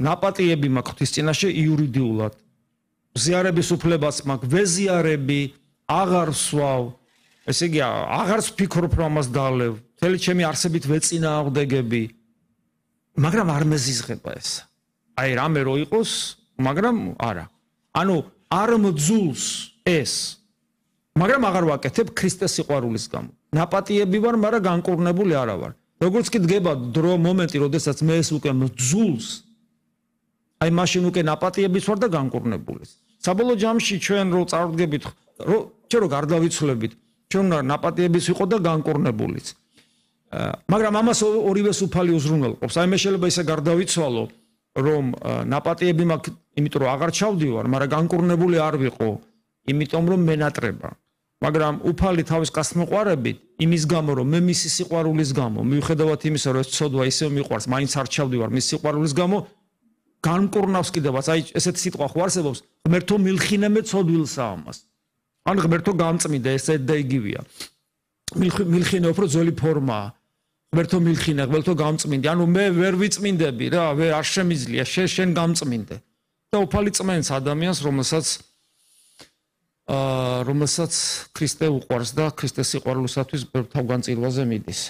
ნაპატიები მაქვს ღვთის წინაშე იურიდიულად. ზიარების უფლებაც მაქვს, ვეზიარები, აღარ ვსვავ. ესე იგი, აღარ ვფიქრობ რომ ამას დალევ. მთელი ჩემი არსებით ვეწინააღმდეგები. მაგრამ არ მეზიზღება ეს. აი რამე რო იყოს, მაგრამ არა. ანუ არ მძულს ეს. მაგრამ აღარ ვაკეთებ ქრისტეს სიყვარულის გამო. ნაპატიები ვარ, მაგრამ განკურნებული არა ვარ. როგორც კი დგება დრო მომენტი, როდესაც მე ეს უკვე მძულს, აი მაშინ უკვე ნაპატიებიც ვარ და განკურნებულის. საბოლოო ჯამში ჩვენ რო წარდგებით, ჩვენ რო გარდავიცვლებით, ჩვენ უნდა ნაპატიებიც ვიყო და განკურნებულიც. მაგრამ ამას ორივეს უფალი უზრუნველყოფს. აი მე შეიძლება ისე გარდავიცვალო, რომ ნაპატიები მაქვს, იმიტომ რომ აღარ ჩავდივარ, მაგრამ განკურნებული არ ვიყო, იმიტომ რომ მენატრება. მაგრამ უფალი თავის გასმოყვარებით, იმის გამო, რომ მე მისი სიყვარულის გამო, მიუხედავად იმისა, რომ ეს ცოდვა ისევ მიყვარს, მაინც არ ჩავდივარ მის სიყვარულის გამო, განკურნავს კიდევაც. აი ესეთი სიტყვა ხო არსებობს, ღმერთო მილხინე მე ცოდვილსა ამას. ან ღმერთო გამწმინდა, ეს და იგივეა. მილხინე უფრო ძველი ფორმაა. ღმერთო მილხინე, ღმერთო გამწმინდე. ანუ მე ვერ ვიწმინდები რა, არ შემიძლია, შენ გამწმინდე. და უფალი წმენს ადამიანს, რომელსაც ქრისტე უყვარს და ქრისტეს სიყვარულისათვის თავგანწირვაზე მიდის.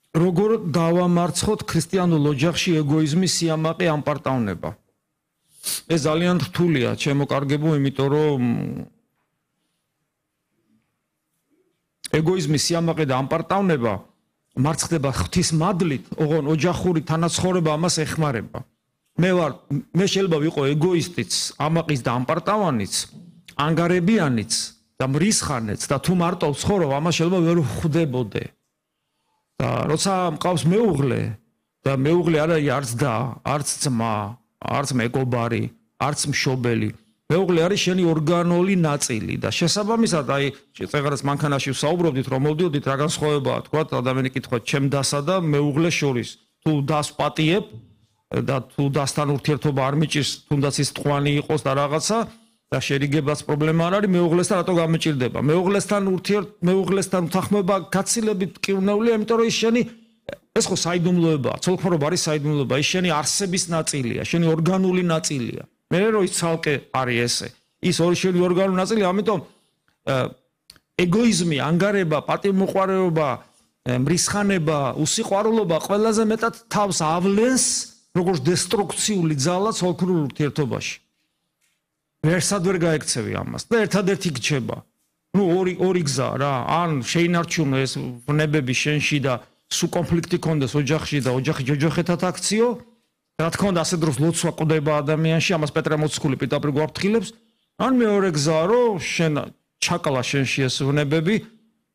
როგორ დავამარცხოთ ქრისტიანულ ოჯახში ეგოიზმის სიამაყე ამპარტავნება? ეს ძალიან რთულია, ჩემოკარგებო, იმიტომ რომ ეგოიზმის სიამაყე და ამპარტავნება მარცხდება ღვთის მადლით, ოღონ ოჯახური თანაცხოვრება ამას ეხმარება. მე შეიძლება ვიყო ეგოისტიც, ამაყის და ამპარტავანიც, ანგარებიანიც და მრისხანეც და თუ მარტო ვცხოვრობ, ამას შეიძლება ვერ ვხვდებოდე. და როცა მყავს მეუღლე და მეუღლე არ არის არც და, არც ძმა, არც მეგობარი, არც მშობელი. მეუღლე არის შენი ორგანული ნაწილი და შესაბამისად, აი, წეგრას მანქანაში ვსაუბრობდით, რომ მოვდიოდით, რა განსხვავებაა, თქვა, ადამიანი კითხვა ჩემ დასა და მეუღლეს შორის. თუ დას პატიებ და თუ დასთან ურთიერთობა არ მიჭირს, თუნდაც ის ტყვანი იყოს და რაღაცა და შერიგებას პრობლემა არ არის, მეუღლესთან რატო გამიჭირდება? მეუღლესთან უთანხმოება გაცილებით კივნეულია, იმიტომ რომ ის შენი ეს ხო საიდუმლოებაა, ცოლქმრობა არის საიდუმლოება, ის შენი არსების ნაწილია, შენი ორგანული ნაწილია. მე რო ის ცალკე არის ესე. ის ორი შენი ორგანული ნაწილი, ამიტომ ეგოიზმი, ანგარება, პატივმოყვარეობა, მრისხანება, უსიყვარულობა ყველაზე მეტად თავს ავლენს როგორც დესტრუქციული ძალა ცოლქმრულ ურთიერთობაში. ვერსად ვერ გაექცევი ამას და ერთადერთი გრჩება. ნუ ორი გზა რა, ან შეინარჩუნო ეს ვნებები შენში და სულ კონფლიქტი კონდეს ოჯახში და ოჯახი ჯოჯოხეთად აქციო. რა თქმა უნდა, ასე დროს ლოცვა ყვდება ადამიანში, ამას პეტრე მოციქული პირდაპირ გვაფრთხილებს. ან მეორე გზაა, რომ შენ ჩაკლა შენში ეს ვნებები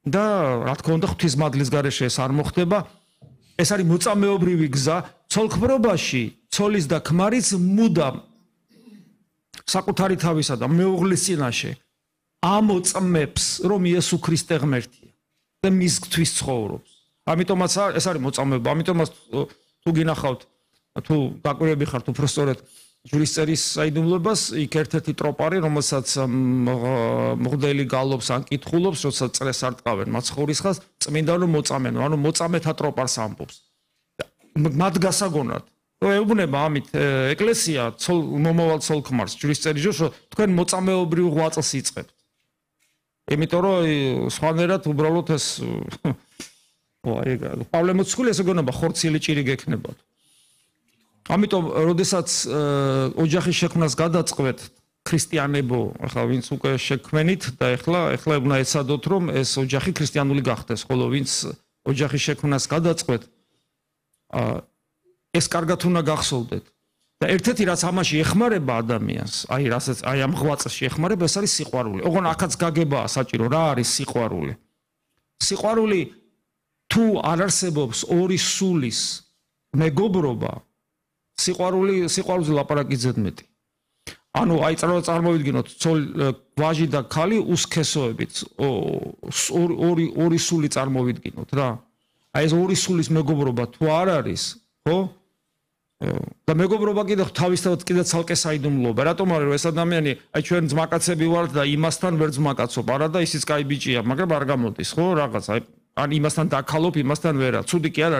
და რა თქმა უნდა, ღვთის მადლის გარეშე ეს არ მოხდება. ეს არის მოწამეობრივი გზა. ცოლქმრობაში ცოლის და ქმარის მუდამ საკუთარი თავისა და მეუღლის წინაშე ამოწმებს, რომ იესო ქრისტე ღმერთია და მისთვის ცხოვრობს. ამიტომაც ეს არის მოწამეობა. ამიტომაც თუ გინახავთ, თუ დაკვირვები ხართ უბრალოდ ჯვრისწერის საიდუმლოებას, იქ ერთ-ერთი ტროპარი, რომელსაც მღვდელი გალობს ან კითხულობს, როცა წრეს არ ტყავენ მაცხოვრისხას, წმინდა რომ მოწამენო, ანუ მოწამეთა ტროპარს ამბობს. მათ გასაგონად, რომ ეუბნება ამით ეკლესია მომავალ ცოლქმარს ჯვრისწერის ჯოშ, რომ თქვენ მოწამეობრივ ღვაწლს იწყებთ. იმიტომ რომ სხვანაირად უბრალოდ ეს პავლე მოციქული ესე გონება ხორცილი ჭირი გექნებათ. ამიტომ, როდესაც ოჯახის შექმნას გადაწყვეტ ქრისტიანებო, ახლა ვინც უკვე შექმენით და ახლა უნდა ეცადოთ, რომ ეს ოჯახი ქრისტიანული გახდეს, ხოლო ვინც ოჯახის შექმნას გადაწყვეტ, ეს კარგად უნდა გახსოვდეთ. და ერთ-ერთი რაც ამაში ეხმარება ადამიანს, აი ამ ღვაწლში ეხმარება, ეს არის სიყვარული. ოღონ აქაც გაგებაა საჭირო, რა არის სიყვარული? სიყვარული თუ არ არსებობს ორი სულის მეგობრობა, სიყვარულზე ლაპარაკი ზედმეტი. ანუ აი წარმოვიდგინოთ, ვაჟი და ქალი უსქესოებით, ორი სული წარმოვიდგინოთ რა. აი ეს ორი სულის მეგობრობა თუ არ არის, ხო? და მეგობრობა კიდე თავისთავად კიდე ცალკე საიდუმლოა. რატომ არის, რომ ეს ადამიანი, აი ჩვენ ძმაკაცები ვართ და იმასთან ვერ ძმაკაცობ, არა და ისიც კაი ბიჭია, მაგრამ არ გამოდის, ხო? რაღაც, აი ან იმასთან დაკალობ, იმასთან ვერა. ცუდი კი არ არის.